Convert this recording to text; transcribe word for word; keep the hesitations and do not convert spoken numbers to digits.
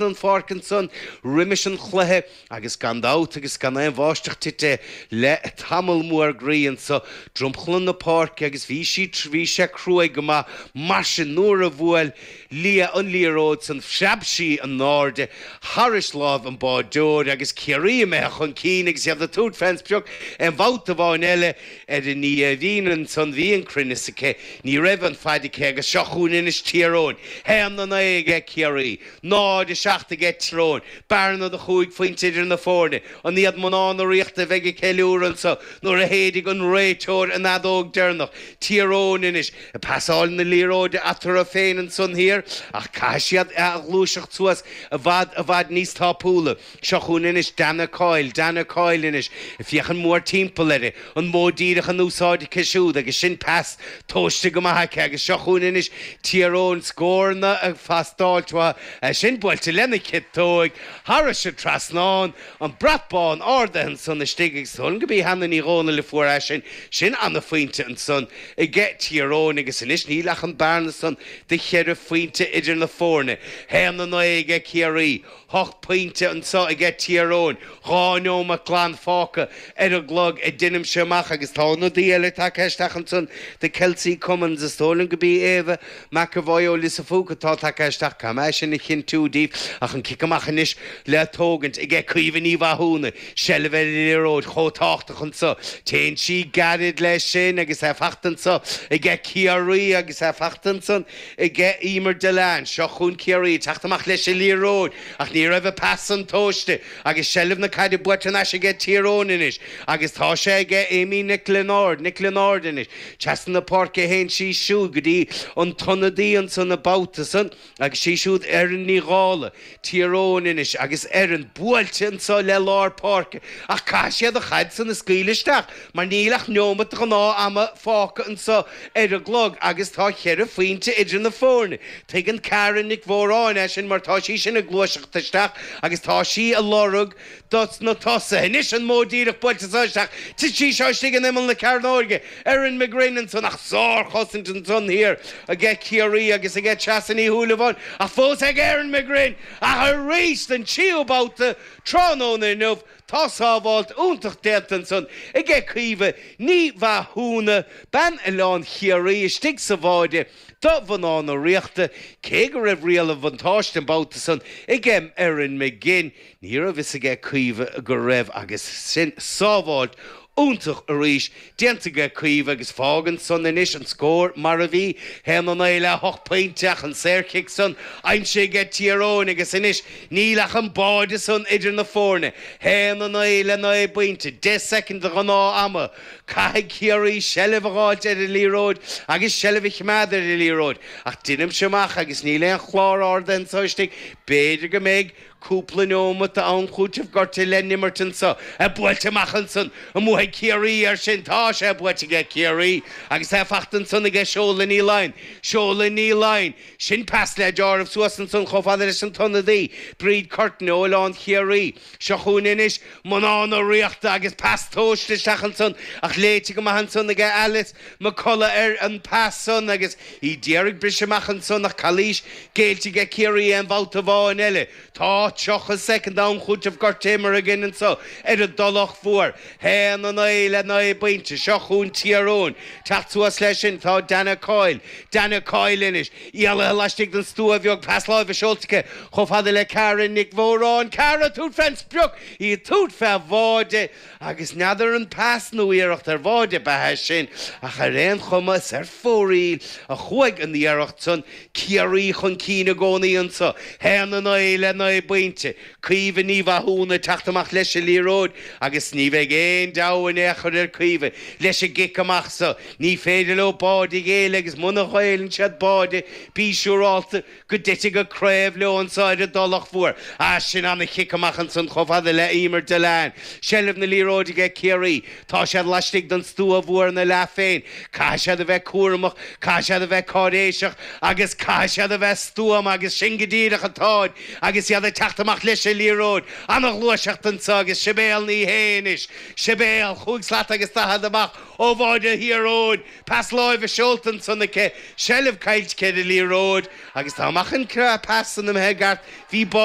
An pháirc ansan roimis an chluiche agus gan dabht agus gan aon bháisteach tite le tamall mór groí anso dromchla na páirce agus bhí sí bhí sé cruaidh go maith mar sin nuair a bhuail Lia an liathróid san phreab sí in airde thairis láimh an bháideoir agus Ciarraí imithe chun cinn agus iad ag tabhairt fén sprioc aon bhabhta amháin eile ar an Iarmhín ansan bhí an cruinneas aici ní raibh an fad aici agus seo chugainn anois Tír Eoghain haon a naoi aige Ciarraí náid a seacht aige Tír Eoghain bearna de chúig phointe idir na foirne an iad mná na Ríochta a bheidh ag ceiliúradh anso nuair a shéidfidh an réiteoir an fheadóg deireanach Tír Eoghain anois ag pasáil na liathróide eatarthu féin ansan thiar ach caithfidh siad a ghluaiseacht suas i bhfad i bhfad níos tapúla. Seo chugainn anois Dana Coyle, Dana Coyle anois, ag féachaint mórthimpeall uirthi, an modh díreach in úsáid aici siúd agus sin pas tomhaiste go maith aici agus seo chugainn anois Tír Eoghain, scóranna ag teastáilt uathu, é sin buailte lena ciotóig thairis an trasnán, an brat bán ardaithe ansan istigh agus is dóigh liom go b'í Hannah Ní Dhomhnaill a fuair é sin, sin ana-phointe ansan aige Tír Eoghain agus anois níl ach an bearna san de cheithre phointe idir na foirne, haon a naoi aige Ciarraí, hocht pointe anso aige Tír Eoghain, dhá neomat glan fágtha ar an gclog a deinimse amach agus tá ionadaí eile tagtha isteach ansan do Kelsey Cummins, is dóigh liom go b'í Éabha McEvoy ó Lios a' Phúca atá tagtha isteach, caithfidh mé é sin a chinntiú daoibh ach an cic amach anois le tógaint aige Caoimhe Ní Mhathúna, seilbh ar an liathróid chomh tábhachtach anso, téann sí gairid leis sin agus é fachta anso aige Ciarraí agus é fachta ansan aige Emer Dillane. Seo chugainn Ciarraí ag teacht amach leis an liathróid ach ní raibh an pas san tomhaiste agus seilbh na caide buaite thar n-ais aige Tír Eoghain anois agus tá sé aige Amy Nic Lionáird, Nic Lionáird anois. Trasna na páirce a théann sí siúd go dtí an t-ionadaí ansan an babhta san agus sí siúd Erin Ní Dhálaigh, Tír Eoghain anois agus Erin buailte anso le lár páirce ach caithfidh siad an chaid san a scaoileadh isteach mar níl ach neomat de ghnáth ama fágtha anso ar an gclog agus tá cheithre phointe idir na foirne. Tuigeann Karen Nic Mhóráin é sin mar tá sí sin ag gluaiseacht isteach agus tá sí ag lorg dos na tosaithe. Anois an modh díreach buailte seo isteach, tit sí seo istigh in imeall na cearnóige, Erin McGrinn ansan ach sárchosaint ansan thiar aige Ciarraí agus aige Treasa Ní Shúilleabháin ach fós ag Erin McGrinn ach arís den tríú babhta tráthnóna inniu tá sábháilt iontach déanta ansan aige Caoimhe Ní Mhathúna, bean Oileán Chiarraí istigh sa bháide do mhná na Ríochta, cé go raibh riail an bhuntáiste an babhta san ag Erin McGinn, ní raibh fhios aige Caoimhe go raibh agus sin sábháilt iontach arís déanta aige Caoimhe agus fágann san anois an scór mar a bhí, haon a naoi le hocht pointe ach an saorchic san aimsithe aige Tír Eoghain agus anois níl ach an báide san idir na foirne, haon a naoi le naoi bpointe, deich soicind de ghnáth ama. Caithfidh Ciarraí seilbh a dh'fháilt ar an liathróid agus seilbh a choimeád ar an liathróid ach deinimse amach agus níl aon chlár ardaithe anso istigh, b'fhéidir go mbeidh cúpla neomat d'am cúitimh gortaithe le n-imirt anso. É buailte amach ansan, an mbuafaidh Ciarraí air sin? Tá sé buaite aige Ciarraí agus é fachta ansan aige Seola Ní Laighin. Seola Ní Laighin. Sin pas le deáramh suas ansan chomh fada leis an t-ionadaí, Bríd Curtin ó Oileán Chiarraí. Seo chugainn anois mná na Ríochta agus pas tomhaiste isteach ansan ach léite go maith ansan aige Alice McCullough ar an pas san agus í d'iarraidh briseadh amach ansan ach calaois géillte aige Ciarraí aon bhabhta amháin eile. Tá tríocha soicind d'am chúitimh gortaithe imeartha againn anso ar an dTulach Mhór. Haon a naoi le naoi bpointe. Seo chugainn Tír Eoghain. Teacht suas leis sin tá Dana Coyle. Dana Coyle anois. Éalaithe laistigh den stua bheag, pas láimhe seolta aici chomh fada le Cara Nic Mhóráin. Cara ag tabhairt fén sprioc! Í ag tabhairt fé bháide agus n'fheadar an pas nó iarracht ar bháide ab ea é sin ach ar aon chuma is ar fóraoil a chuaigh an iarracht san. Ciarraí chun cinn i gcónaí anso. Haon a naoi le naoi bpointe. Caoimhe Ní Mhathúna ag teacht amach leis an liathróid agus ní bheidh aon deabhadh in aon chor ar Caoimhe leis an gcic amach so. Ní féidir leo báide a ghéilleadh agus muna ngéilleann siad báide, bí siúrálta go dtitfidh an craobh leo anso ar an dTulach Mhór. Ah, sin ana-chic amach ansan chomh fada le Emer Dillane. Seilbh na liathróide aige Ciarraí. Tá siad laistigh den stua mhór ina leath féin. Caithfidh siad a bheith cúramach, caithfidh siad a bheith cáiréiseach agus caithfidh siad a bheith stuama agus sin go díreach atáid agus iad ag teacht amach leis an liathróid. Ana-ghluaiseacht anso agus Sibéal Ní Shé anois. Sibéal, chúig slat agus daichead amach ó bháide Thír Eoghain. Pas láimhe seolta ansan aici, seilbh caillte aici ar an liathróid agus dá mbeadh an pas san imithe i gceart bhí